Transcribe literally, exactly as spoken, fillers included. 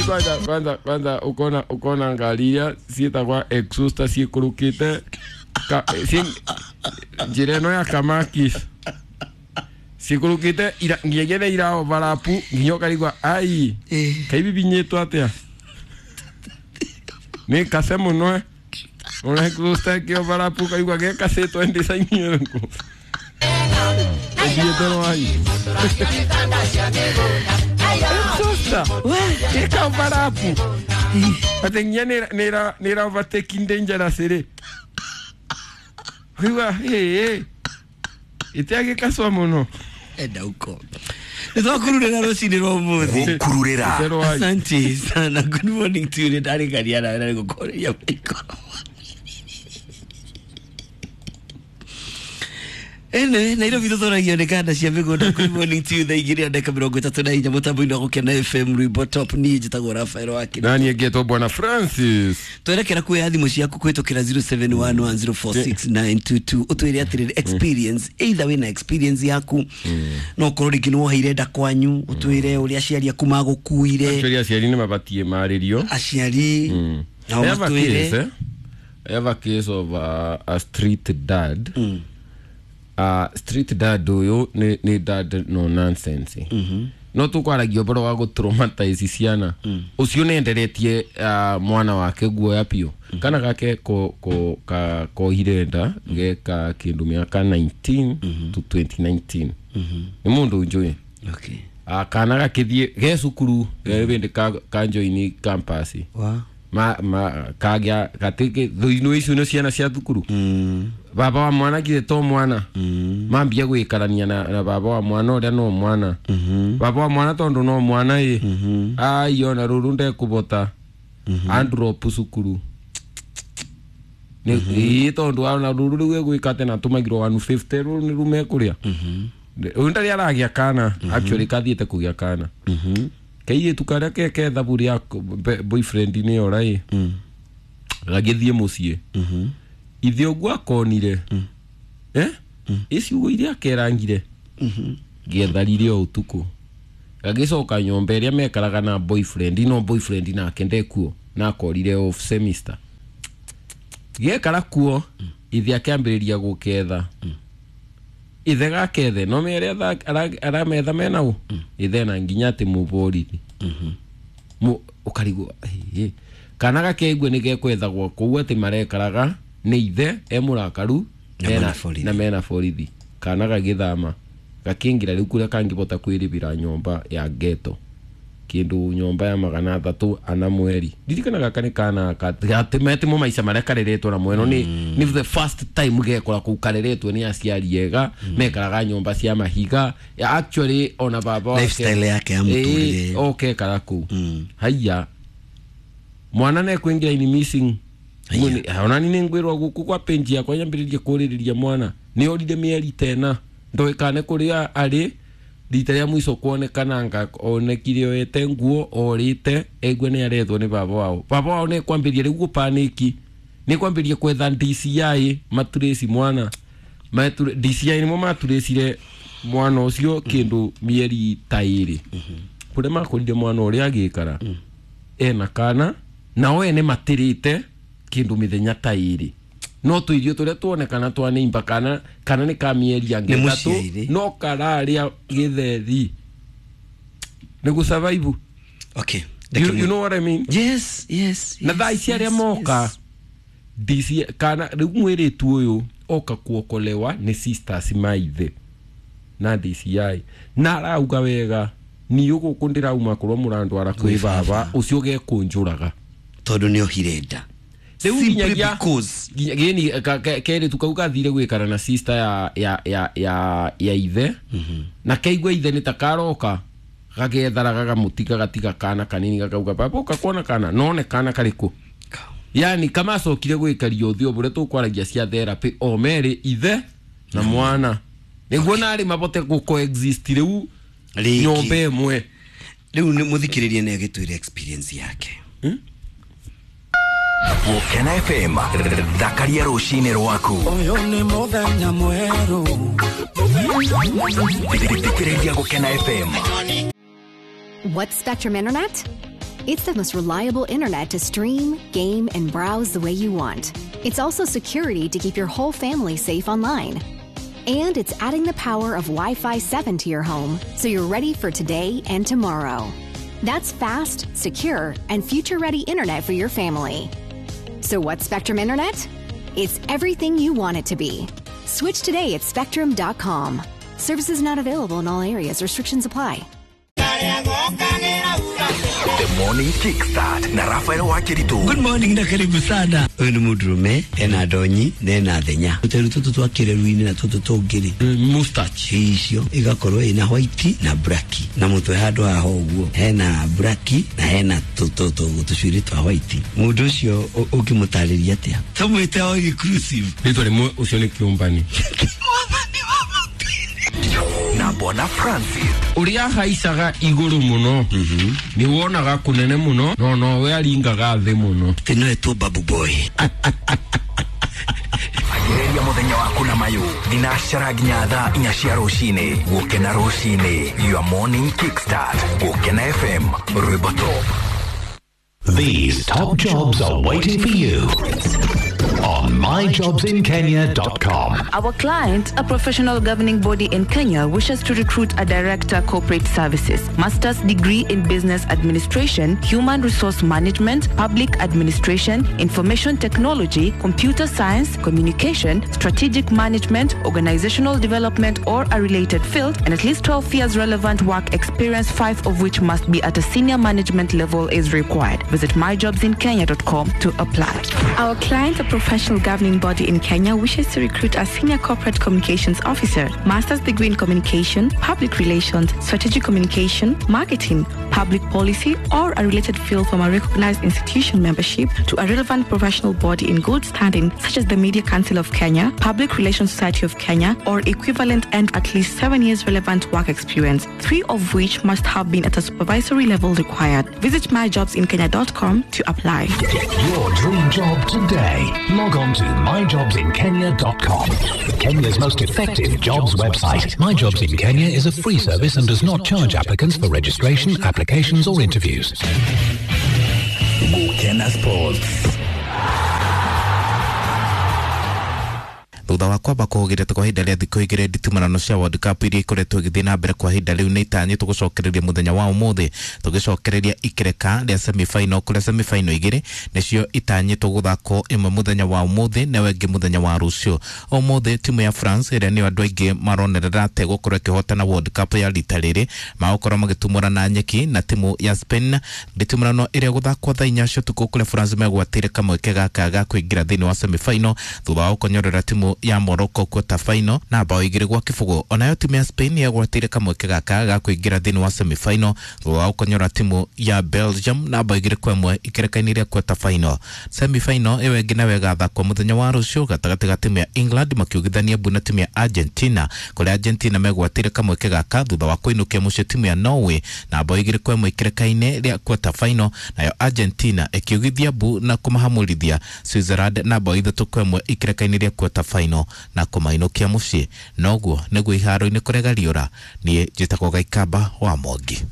Kwanza kwanza kwanza ukona ukona ngari iria ciĩtagwa exhauster ciĩkũrũkĩte ka ci njĩra ĩno ya Kamakis ciĩkũrũkĩte ira nginyagia nĩ ira overlap nginya ũkarigwa ai kaibibinyĩtwo atĩa nĩ kase mũno eh ona exhauster ĩkĩ overlap ũkaigua gekacĩtwo design ĩrĩkũ ĩthiĩte rwai exhauster ĩka overlap atĩ nginya nĩ nĩ overtaking dangerous rĩ ũkaigua ĩ ĩtiagĩkacwa mũno enda uko nĩtwakururĩra rũcinĩ rwa ũmũthĩ Gũkururĩra. Asante sana. Good morning to you. Ndarĩkaria nawe na nĩngũkũrĩria maikoro. Ene Nairobi tũthoragio nĩ kanda cia mĩgũnda. Good morning to you. Thaa igĩrĩ na ndagĩka mĩrongo ĩtatũ na inya mũtambo-inĩ wa Gũkena F M rwĩmbo top. Niĩ njĩtagwo Rafael Wakĩra. Nani ngĩtwo Bwana Francis. Twerekera kuoya thimũ ciaku kũhĩtũkĩra zero seven one one zero four six nine two two ũtwĩre atĩrĩrĩ experience either wĩna experience yaku no ũkorwo rĩngĩ nĩ woheire nda kwanyu ũtwĩre ũrĩa aciari aku magũkuire. Actually aciari nĩ mabatiĩ marĩrio aciari nao I have a matwĩre case, eh? I have a case of uh, a street dad. Mm. Uh, street dad ũyũ nĩ nĩ dad no nonsense. Mm-hmm. No tũkwaragia ũhoro wa gũtraumatize ciana. Mm. Ũcio nĩenderetie uh, mwana wake guoya biũ. Mm. Kana gake ko ko ka kohire nda geka kĩndũ mĩaka nineteen mm-hmm. to twenty nineteen. Mm-hmm. Nĩ mũndũ njũĩ. Okay. Uh, kana gakĩthiĩ ge cukuru mm. ka ka join campus. Wow. Ma ma kagĩa gatĩke thũinũ icio nĩ ciana cia thukuru. Mm. Baba wa mwana githĩ to mwana. Mm. Mambia gwĩkarania na, na baba wa mwana ũrĩa no mwana. Mm -hmm. Baba wa mwana tondũ no mwana ĩ. Mm -hmm. Ai ona rũrũ ndekũbota. Mm -hmm. Androp cukuru. Nĩ mm -hmm. tondũ ona rũrũ rĩu egwĩka atĩ na tũmagirwo one fifty rũrũ nĩ rumekũrĩa. Mm -hmm. Ũyũ ndarĩ aragĩa kana. Mm -hmm. Actually kathiĩte kũgĩa kana. Mm -hmm. Kairĩtu karĩa ke kethabu rĩa boyfriend nĩ ora ĩ. Mm. Gagĩthiĩ mũciĩ. Mm-hmm. Ithe ũguo akonire. Mm. Eh? Mm. Iciugo iria akerangire. Mm-hmm. Gĩetharire o ũtukũ. Gagĩcoka nyũmba ĩrĩa mekaraga na boyfriend no boyfriend nake ndekuo na akorire off semester. Gĩekara kuo mm. Ithe akĩambĩrĩria gũketha. Mm. Ithe gakethe no mere arametha mena ũ. Mm. Ithe na nginya atĩ mũborithi. Mm-hmm. Mu ũkarigwo kana gakeigua nĩ gekwethagwo kũu atĩ marekaraga nĩ ithe e mũrakaru na mena borithi. Kana gagĩthama gakĩingĩra rĩu kũrĩa kangĩbota kwĩrĩbĩra nyũmba ya ghetto kĩndũ nyũmba ya magana atatũ ana mweri. Ndirikana gaka nĩ kana gatĩmetimo maica marĩa kareretwo na mweno nĩ nĩ the first time gekora kũu kareretwo nĩ aciari ega mekaraga nyũmba cia mahiga. Actually ona baba wake lifestyle yake ya mũtũrĩre okay kara kũu. Haiya mwana nĩ kwĩingĩra in missing. Ona nĩ ngwĩrwo gũkũ kwa penji yakwa nyambĩrĩrie kũrĩrĩria mwana nĩ orire mĩeri tena ndoĩkane kũrĩa arĩ rita rĩa mũico kuonekana nga onekire oete nguo orĩte eigue nĩ arethwo nĩ baba wao. Baba wao nĩ kwambĩrĩria rĩu gũpanĩki nĩ kwambĩrĩria kwetha D C I maturĩci mwana D C I nĩmo maturĩcire mwana ũcio kĩndũ mĩeri ta ĩrĩ kũrĩa makorire mwana ũrĩa agĩikara ena kana nao ene matĩrĩte kĩndũ mĩthenya ta ĩrĩ no tũirio tũrĩa tuonekana twa nĩimba kana kana nĩ ka mĩeri angĩ ĩtatũ no kararĩa gĩtheri nĩ gũ survive. Okay. You, you know what I mean? Yes, yes, yes. Na thaa ici arĩa moka D C kana rĩu mwĩrĩtu ũyũ oka kuokolewa nĩ sisters maithe na D C I na arauga wega niĩ gũkũ ndĩrauma korwo mũrandwara kwĩ baba ũcio gekũnjũraga tondũ nĩ ohire nda. Simply because gini kerĩ kau gathire gwikara na sister ya ya ya ya ya ithe. Mm-hmm. Na keigua ithe nĩ ta karoka gagetharaga gamutiga gatiga kana kanini gakauga baba ũka kuona kana none kana karĩkũ. Yani kama acokire gwikaria ũthiũ bũrĩa tũkwaragia cia therapy o merĩ ithe na mwana nĩguo narĩ mabote gũ coexist rĩu nyũmba ĩmwe. Rĩu nĩ mũthikĩrĩrie nĩ agĩtwĩre experience yake. Hmm? Gũkena F M thakaria rũcinĩ rwaku. Ũyũ nĩ mũthenya mwerũ. Thikĩrĩria Gũkena F M. What's Spectrum Internet? It's the most reliable internet to stream, game, and browse the way you want. It's also security to keep your whole family safe online. And it's adding the power of Wi-Fi seven to your home, so you're ready for today and tomorrow. That's fast, secure, and future-ready internet for your family. So what's Spectrum Internet? It's everything you want it to be. Switch today at spectrum dot com. Services not available in all areas. Restrictions apply. The Morning Kickstart na Rafael Wakiritu. Good morning na karibu sana. Uyu ni mundurume ena ndonyi na ena thenya. Tuteru tutu twa kireru-ini na tutu tungiri. Mustache. Icio igakorwo ina white na black. Na mutwe handu haha uguo hena black na hena tutu tucuiri twa white. Mundu ucio ukimutariria atia? Tumwite all inclusive. Ritwa rimwe ucio ni kiumbani. Na Bwana Francis. Uria haicaga iguru muno ni wonaga kunene muno no no we aringaga thi muno. Tino etwo babu boy. Agereria muthenya waku na mayu thinacara nginya thaa inya cia rucini. Gukena rucini, your morning kickstart. Gukena F M, rwimbo top. These top jobs are waiting for you on my jobs in kenya dot com. Our client, a professional governing body in Kenya, wishes to recruit a director corporate services, master's degree in business administration, human resource management, public administration, information technology, computer science, communication, strategic management, organizational development or a related field, and at least twelve years relevant work experience, five of which must be at a senior management level is required. Visit my jobs in kenya dot com to apply. Our client, a professional governing body in Kenya, wishes to recruit a senior corporate communications officer, master's degree in communication, public relations, strategic communication, marketing, public policy, or a related field from a recognized institution membership to a relevant professional body in good standing, such as the Media Council of Kenya, Public Relations Society of Kenya, or equivalent, and at least seven years relevant work experience, three of which must have been at a supervisory level required. Visit my jobs in kenya dot com to apply. Get your dream job today. Log on to my jobs in kenya dot com. Kenya's most effective jobs website. My Jobs in Kenya is a free service and does not charge applicants for registration, applications or interviews. Gukena Sports. Thutha wa kwamba kũhũgĩrĩte kwa ihinda rĩa thikũ igĩrĩ nditumanano cia World Cup iria ikoretwo igĩthiĩ na mbere kwa ihinda rĩu nĩ itanyĩtwo gũcokereria mũthenya wa ũmũthĩ tũgĩcokereria ikereka rĩa semi-final kũrĩa semi-final igĩrĩ nĩcio itanyĩtwo gũthakwo ĩmwe mũthenya wa ũmũthĩ na ĩyo ĩngĩ mũthenya wa rũciũ. Ũmũthĩ timu ya France ĩrĩa nĩyo andũ aingĩ maronerera atĩ gũkorwo ĩkĩhotana World Cup ya rita rĩrĩ magũkorwo magĩtumũra na nyeki na timu ya Spain nditumũrano ĩrĩa gũthakwo thaa inya cia ũtukũ kũrĩa France megwatĩire kamweke gaka ga kũingĩra thĩinĩ wa semi-final thutha wa gũkonyorera timu ya Morocco quarter final na bao igĩrĩ gwa kĩbũgũ. Onayo timu ya Spain yagwatĩire kamweke gaka ga kũingĩra thĩinĩ wa semi final thutha wa gũkonyora timu ya Belgium na bao igĩrĩ kwa ĩmwe ikereka-inĩ rĩa quarter final. Semi final ĩyo ĩngĩ nayo ĩgathakwo mũthenya wa rũciũ gatagatĩ ga timu ya England makiugithania mbu na timu ya Argentina kũrĩa Argentina megwatĩire kamweke gaka thutha wa kũinũkia mũciĩ timu ya Norway na bao igĩrĩ kwa ĩmwe ikereka-inĩ rĩa quarter final, nayo Argentina ĩkiugithia mbu na kũmahamũrithia Switzerland na bao ithatũ kwa ĩmwe ikereka-inĩ rĩa quarter final na kũmainũkia mũciĩ. Noguo nĩguo iharo-inĩ kũrega riũra. Niĩ njĩtagwo Gaikamba wa Mwangi.